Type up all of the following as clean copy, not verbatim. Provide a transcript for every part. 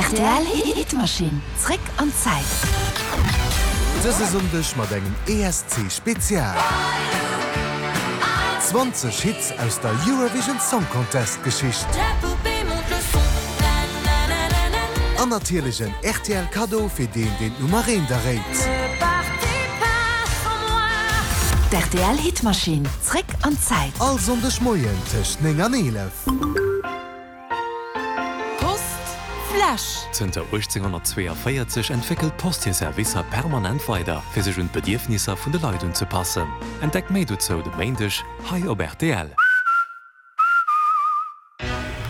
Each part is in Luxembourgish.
Rtl Hitmaschinn, zréck an d'Zäit. Dëse Sonndeg mat engem ESC Spezial. 20 Hits aus der Eurovision Song Contest Geschicht. An natierlech en rtl Kaddo fir deen deen d'Nummer eent erréit. D'RTL Hitmaschinn, zréck an d'Zäit. All Sonndeg Moien tëscht 9 an 11. Post Fläsch. Zënter 1842 entwéckelt d'Post hir Servicer permanent weider, fir sech un d'Bedierfnisser vun de Leit unzepassen. Entdeckt méi dozou de Méindeg hei op rtl.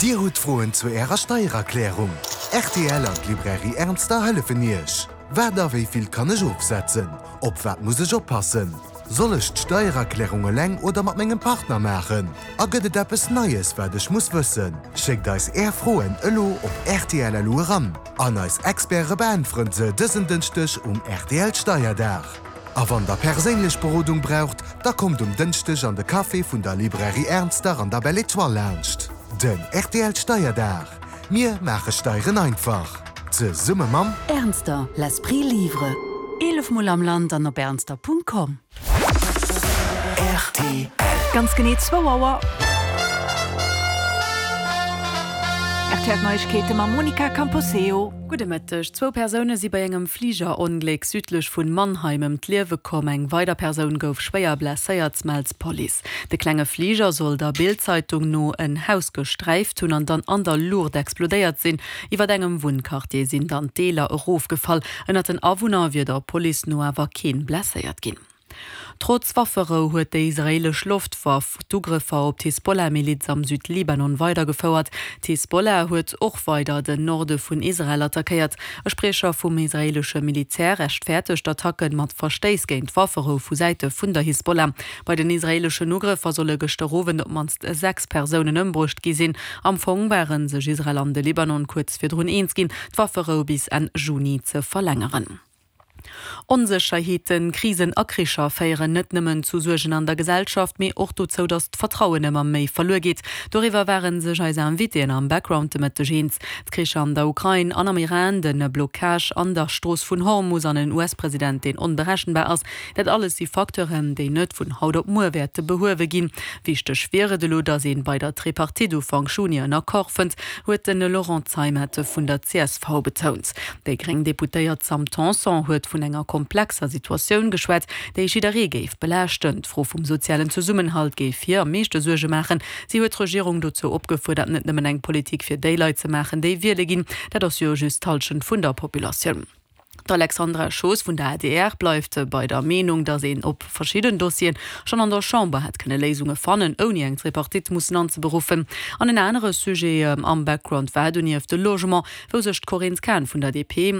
Dir hutt Froen zu Ärer Steiererklärung? Rtl an d'Librairie Ernster hëllefen Iech. Wat a wéi vill kann ech ofsetzen? Op wat muss ech oppassen? Soll ech d'Steiererklärung eleng oder mat mengem Partner maachen? A gëtt et eppes Neies wat ech muss wëssen? Schéckt eis Är Froen elo op rtl.lu eran an eis Experte beäntweren se dësen Dënschdeg um rtl Steierdag. A wann der perséinlech Berodung braucht, da kommt um Dënschdeg an de Café vun der Librairie Ernster an der Belle Etoile laanscht. Den rtl Steierdag, Mir maache Steieren einfach! Zesumme mam. Ernster, l'esprit livre. 11 mol am Land an op ernster.com. Rtl. Ganz genee zwou Auer. Rtl Neiegkeete mam Monica Camposeo. Gudde Mëtteg. Zwou Persoune si bei engem Fligerongléck südlech vun Mannheim ëm d'Liewe komm. Eng weider Persoun gouf schwéier blesséiert, mellt d'Police. De klenge Fliger soll der Bild-Zeitung no en Haus gesträift hunn an dann an der Luucht explodéiert sinn. Iwwer engem Wunnquartier sinn dann d'Deeler erofgefall. Ënnert den Awunner wier der Police no awer keen blesséiert ginn. Trotz Wafferou huet déi israeelesch Loftwaff d'Ugrëffer op d'Hisbollah-Miliz am Südlibanon weidergefouert. D'Hisbollah huet och weider den Norde vun Israel attackéiert. E Spriecher vum israeelesche Militär rechtfäertegt d'Attacke mat Verstéiss géint d'Wafferou vu Säite vun der Hisbollah. Bei den israeeleschen Ugrëffer solle gëschter Owend op d'mannst 6 Persounen ëmbruecht gi sinn. Am Fong ware sech Israel an de Libanon kuerz virdrun eens ginn, d'Wafferou bis Enn Juni ze verlängeren. Onsécherheeten, Krisen a Kricher féieren net nëmmen zu Suergen an der Gesellschaft, mee och dozou, datt d'Vertrauen ëmmer méi verluer geet. Doriwwer ware sech eis Invitéen am Background de Mëtteg eens. D'Kricher an der Ukrain an am Iran, de Blockage an der Strooss vun Hormus an en US-President, deen onberechenbar ass, dat alles si Facteuren, déi net vun haut op muer wäerte behuewe ginn. Wichteg wier et elo, datt ee bei der Tripartite Ufank Juni en Accord fënnt, huet de Laurent Zeimet vun der csv betount. Déi gréng Deputéiert Sam Tanson huet vun enger komplexer Situatioun geschwat, déi jidderee géif belaaschten. D'Fro vum sozialen Zesummenhalt géif hir am meeschte Suerge maachen. Si huet d'Regierung dozou opgefuerdert, net nëmmen eng Politik fir déi Leit ze maachen, déi wiele ginn. Dat ass jo just d'Hallschent vun der Populatioun. D'Alexandra Schoos vun der adr bleift bei der Meenung, datt een op verschidden Dossieren schonn an der Chamber hätt kënne Léisunge fannen, ouni eng Tripartite mussen anzeberuffen. An en anere Sujet am Background war donieft de Logement, wou sech d'Corinne Cahen vun der DP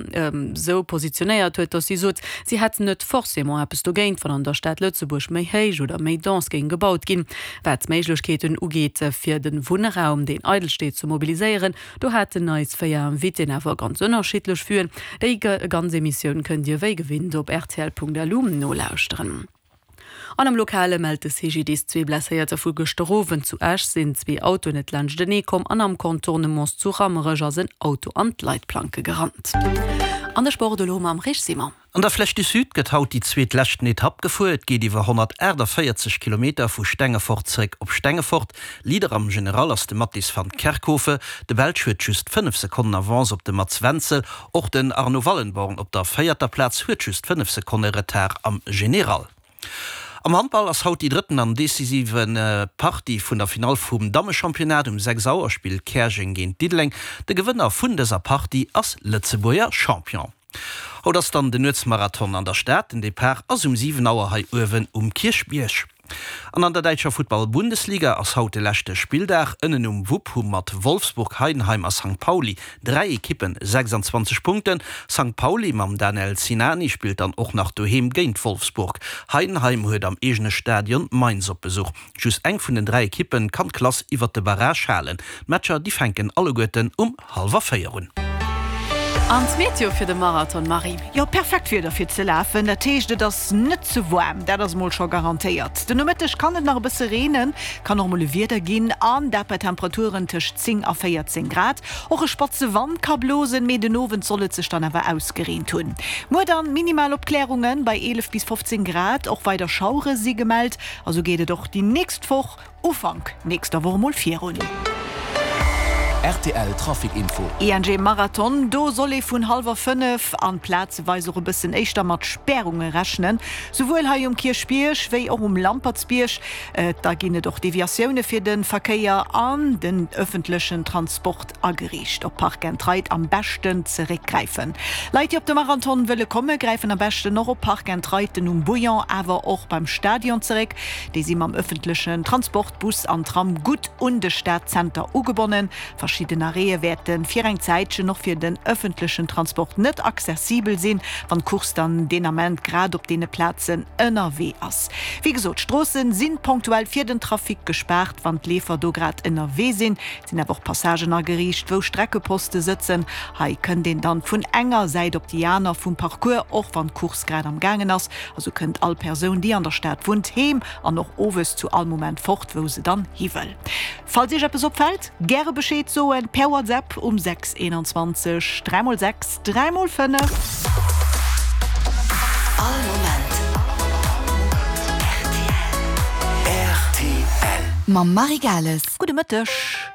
esou positionéiert huet, datt si sot, si hätt net forcément eppes dogéint, wann an der Stad Lëtzebuerg méi héich oder méi dense géing gebaut ginn. Wat d'Méiglechkeeten ugeet, fir de Wunnraum, deen eidel steet, ze mobiliséieren, Do haten eis 4 Invitéen awer ganz ënnerschiddlech Vuen. Déi ganz Emissioun kënnt Dir wéi gewinnt op rtl.lu nolauschteren. An am Lokale mellt de CGDIS zwee Blesséierter vu gëschter Owend. Zu Esch sinn zwee Autoen net laanschtenee komm an am Contournements zu Rammerech ass en Auto an d'Leitplanke gerannt. An de Sport elo mam Rich Simon. An der Flèche du Sud gëtt haut déi zweet leschten Etapp gefuer. Et geet iwwer 148 Kilometer vu Stengefort zeréck op Stengefort. Leader am General ass de Mattis van Kerkhove. De Belsch huet just 5 Sekonnen Avance op de Mats Wenzel. Och den Arno Wallenborn op der véierter Plaz huet just 5 Sekonne Retard am General. Am Handball ass haut déi drëtten an decisive Partie vun der Finall vum Dammechampionnat. Um 6 Auer spillt Käerjeng géint Diddeleng. De Gewënner vun dëser Partie ass Lëtzebuerger Champion. Haut ass dann den Nuetsmarathon an der Stad. Den Depart ass um 7 Auer hei uewen um Kierchbierg. An an der däitscher Futtball-Bundesliga ass haut de leschte Spilldag. Ënnen um Wupp hu mat Wolfsburg, Heidenheim a Sankt Pauli 3 Ekippen 26 Punkten. Sankt Pauli mam Danel Sinani spillt dann och nach doheem géint Wolfsburg. Heidenheim huet am eegene Stadion Mainz op Besuch. Just eng vun den 3 Ekippen kann d'Klass iwwert de Barrage halen. D'Matcher déi fänken alleguerten um hallwer 4 un. An d'Meteo fir de Marathon, Marie? Jo, perfekt Wieder fir ze lafen. Dat heescht, et ass net ze waarm, dat ass mol scho garantéiert. Den Nomëtteg kann et nach e bësse reenen, kann och mol e Wieder ginn, an dat bei Temperaturen tëscht 10 a 14 Grad. Och e spatze Wand ka blosen, mee den Owend soll et sech dann awer ausgereent hunn. Muer dann minimal Opklärunge bei 11 bis 15 Grad, och weider Schauere si gemellt a sou geet et och déi nächst Woch. Ufank nächster Woch emol virun. Rtl Trafic Info. ING Marathon, Do soll ee vun hallwer 5 an plazeweis och e bëssen éischter mat Spärunge rechnen, souwuel hei um Kierchbierg wéi och um Lampertsbierg. Da ginn et och Deviatioune fir de Verkéier an den ëffentlechen Transport ageriicht. Op Park and Ride am beschten zeréckgräifen. Leit déi op de Marathon wëlle komme gräifen am beschten och op Park and Riden um Bouillon awer och beim Stadion zeréck. Déi si mam ëffentlechen Transport, Bus an Tram, gutt un de Stadzenter ugebonnen. Verschidden Arrêtë wäerte fir eng Zäitchen och fir den ëffentlechen Transport net accessibel sinn, wann d'Course dann deen Ament grad op deene Plazen ënnerwee ass. Wéi gesot, d'Stroosse si ponktuell fir den Trafic gespaart, wann d'Leefer do grad ënnerwee sinn. Et sinn awer och Passagen ageriicht, wou Streckeposte sëtzen. Hei kënnt een dann vun enger Säit op déi aner vum Parcours, och wann d'Course grad am gaangen ass. A sou kënnt all Persoun, déi an der Stad wunnt, heem an och owes zu all Moment fort, wou se dann hi wëll. Falls Iech eppes opfält, gäre Bescheed soen per WhatsApp um 6 21 3 x 6 3 x 5. All Moment rtl. Mam Marie Gales. Gudde Mëtteg.